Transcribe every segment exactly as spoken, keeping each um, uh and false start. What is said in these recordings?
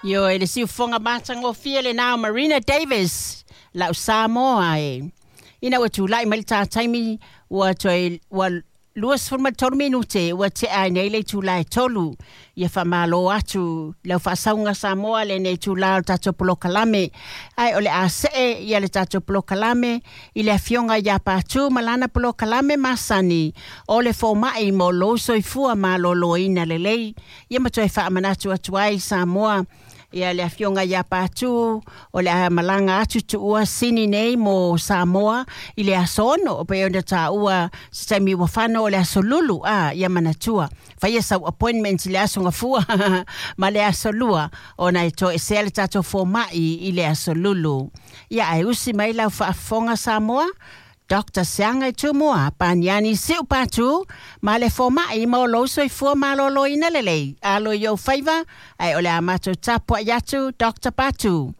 Io e le siufoga matagofie lenā o Marina Davis lau Samoa e. Ina ua tulai mai le tātaimi ua toe ua lua ma tolu minute ua tea ai nei le itulā e tolu. Ia faamālō atu lau faasauga Samoa lenei itulā o le tatou polokalame. Ae o le a see ia le tatou polokalame i le afioga iā Patu ma lana polokalame masani o le fomaʻi mo lou soifua malōlōina lelei. Ia ma toe faamanatu atu ai Samoa ia le afioga iā Patu o le a malaga atu tuua Sini nei mo Samoa i le aso ono pei ona taua se taimi ua fano o le aso Lulu a ia manatua. Faia sau appointment i le aso Gafua ma le aso Lua ona e toesea le tatou fomaʻi i le aso Lulu. Ia ae usi mai lau faafofoga Samoa Doctor Seaga Tumua Paniani Siu Patu ma le fomaʻi mo lou soifua malōlōina lelei. Alo i ou faiva ae o le a matou tapuaʻi atu Doctor Patu.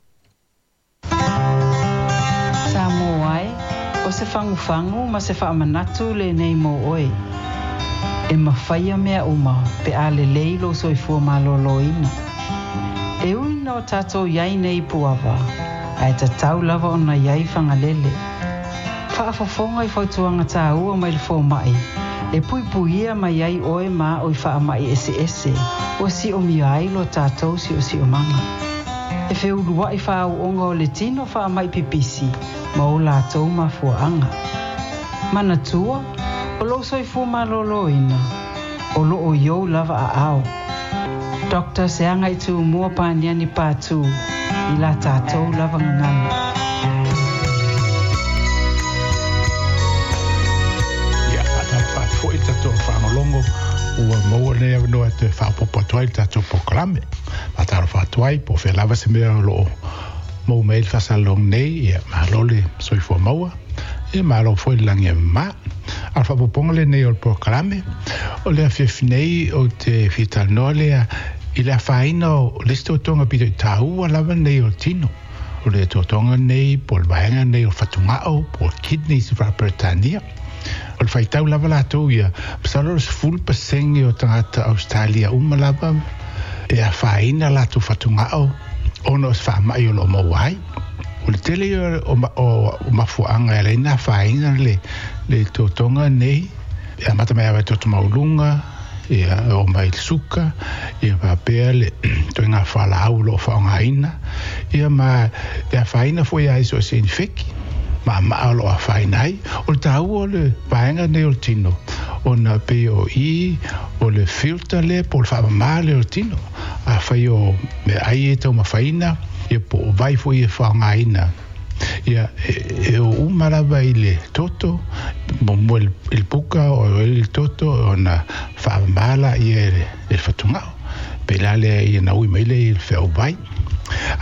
Samoa e, o se fagufagu ma se faamanatu lenei mo oe. E mafaia mea uma pe a lelei lou soifua malōlōina. E ui na o tatou iai nei Puava, ae tatau lava ona iai Fagalele. Faafofoga i fautuaga tāua mai le fomaʻi e puipuia mai ai oe ma o i faamaʻi eseese ua siomia ai lo tatou siosiomaga. E feuluaʻi faaauoga o le tino faamaʻi pipisi ma o latou mafuaaga. Manatua, o lou soifua malōlōina, o loo i ou lava aao. Doctor Seaga Tumua Paniani Patu, i la tatou lava gagana. Foi le tatou faalogologo ua maua lenei avanoa e toe faaopoopo atu ai le tatou polokalame. Faatalofa atu ai po o fea lava se mea o loo maua mai ai le faasalaloga nei, ia malo le soifua maua, ia malo foi le lagi e mamā. A o le faaopoopoga lenei o le polokalame, o le afiafi nei ou te fia talanoa lea i le afaina o le isi totoga pito i tāua lava nei o le tino. O le totoga nei po o le vaega nei o le fatugao po o le kidneys i Faaperetania. O le faitau lava latou ia, masalo o le sefulu pasene o tagata Australia uma lava e afaina latou fatugao ona o se faamaʻi o loo maua ai. O le tele ia o, o, o mafuaaga e ala ai na afaina le, le totoga nei, e amata mai lava i toto maualuga, ia o mai le suka, ia faapea le toega faalaau o loo faaaogaina, ia ma e afaina foi ai so o se infeki. Ma maa o loo afaina ai. O le tāua o le vaega nei o le tino, ona pei o i o le filter lea po o le faamamā lea o le tino. Afai o meaai e taumafaina, ia po o vai foi e faaaogaina. Ia e, e o uma lava i le toto, muamua i le puka o i le toto ona faamamā laia e le, e le fatugao. Pei la lea ia na ui mai lea i le feau vai.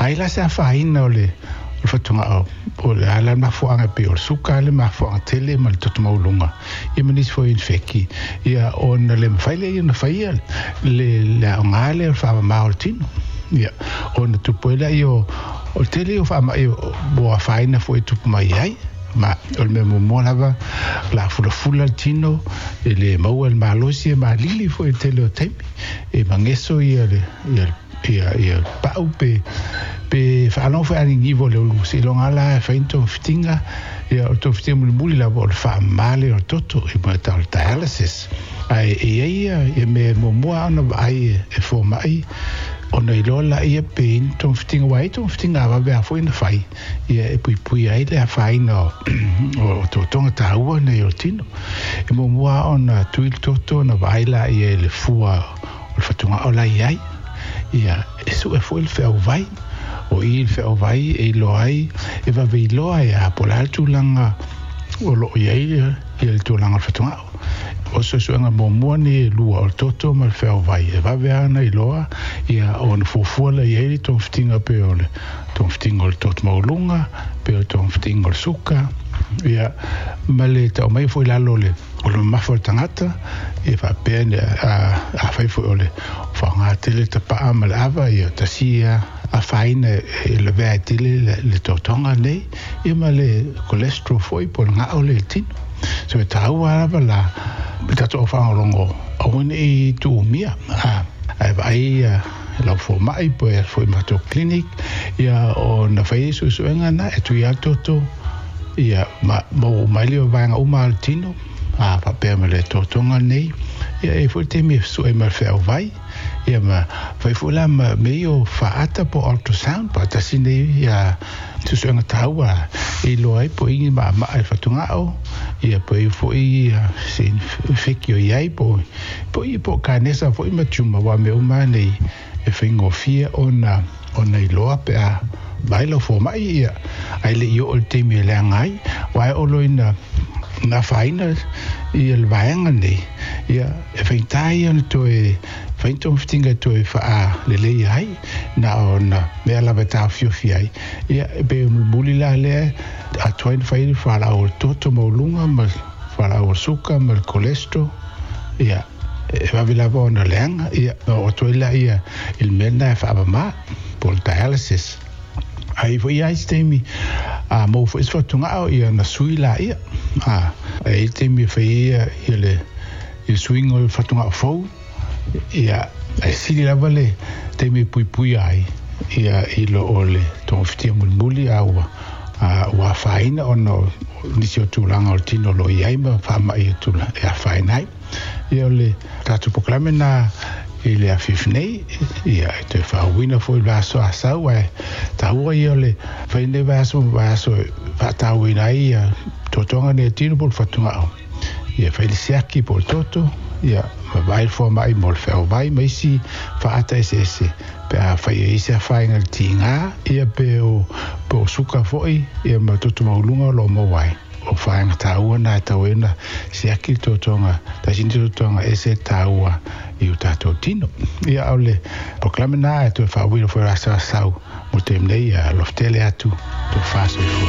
Ai la se afaina o le o le fatugao o le ala le mafuaaga pei o le suka le mafuaaga tele ma le toto maualuga ia ma nisi foi infeki ia ona le mafai lea ona faia le le aoga lea o le faamamā o le tino. Ia ona tupu ai laia o o le tele o faamaʻi ua afaina foi e tupu mai ai. Ma o le mea muamua lava la fulafula le tino e le maua le malosi e malili foi le tele o taimi e mageso ia le ia ia ia pau pe pe faalogo foi anigivo o le ulu seiloga la e fai ni togafitiga ia o le togafitiga mulimuli lava o le faamamā lea o le toto i mo e tau o le dialysis. Ae e iai ia ia mea muamua ona vaai e fomaʻi ona iloa laia pe i ni togafitiga ua ai togafitiga avave a foi na fai ia e puipui ai le afaina o o totoga tāua nei o le tino. E muamua ona tui le toto ona vaai laia i le fua o le fatugao la i ai. Ia e sue foi le feau vai. O i le feau vai e iloa ai e vave iloa ai a po o le a le tulaga o loo iai ia le tulaga o le fatugao. O suesuega muamua nei e lua o le toto ma le feau vai e vave ana iloa ia ona fuafua la i ai le togafitiga pe o le togafitiga o le toto maualuga pe o le togafitiga o le suka ia ma le tau mai foi i lalo o le o le mamafa o le tagata ia faapea ne a afai foi o le faaaoga tele tapaa ma le ava ia tasi ia afaina e lavea ai tele le, le totoga nei ia ma le cholesterol foi po o le gao lea i le tino. So e tāua lava la le tatou au faalogologo aua nei tuumia a ae vaai ia lau fomai po e foi ma matou clinic ia ona fai suesuega na e tui atu toto ia ma mo mai le vaega uma o le tino a faapea ma le totoga nei ia e foi taimi e sue ma le feauvai ia ma fai foi la ma mea o faata po o ultrasound faatasi nei ia suesuega taua e iloa ai po o i maamaa i le fatugao ia po i foi se feki o iai po po i po o kanesa foi ma tumor aua mea uma nei e faigofie ona ona iloa pe a vaai lau fomai ia ae le i oo i le taimi e leaga ai aua e olo ina na afaina ia le vaega nei ia e faigata ia ona toe fai ni togafitiga e toe faaleleia ai na ona mea lava e taofiofi ai ia e pei o mulimuli la lea atoa ai na fai le fualaau o le toto maualuga ma le fualaau o le suka ma le cholesterol ia e vave lava ona leaga ia ona oo atu ai lea i le mea lena e faamamā po o le dialysis. Ai foi i ai se taimi a maua foi se fatugao ia ona sui laia. A e i ai le taimi e fai ai ia le i le suiga o le fatugao fou ia ae sili lava le taimi e puipuia ai ia i lo o le togafitia mulimuli a ua a ua afaina ona o nisi o tulaga o le tino o lo o i ai ma faamai e tula e afaina ai. Ia o le tatou polokalame lena i le afiafi nei, ia e toe faauuina foi i le vaiaso a sau, ae taua ia o le fai lenei vaiaso ma vaiaso e faatauaina ai ia totoga nei e tino po o le fatugao. Ia fai le siaki po o le toto, ia ma vaai le foamai mo le feauvai ma isi faata eseese pe afai e i ai se afaina i le tiga, ia pe o, pe o suka foi, ia ma toto maualuga o lo o maua ai. O vaega taua na e tau ai ona siaki le totoga, tasi ni totoga ese taua i o tatou tino. Ia o le polokalame na e toe faauuina foi o le aso a sau mo le taimi nei, ia alofa tele atu tofa soifua.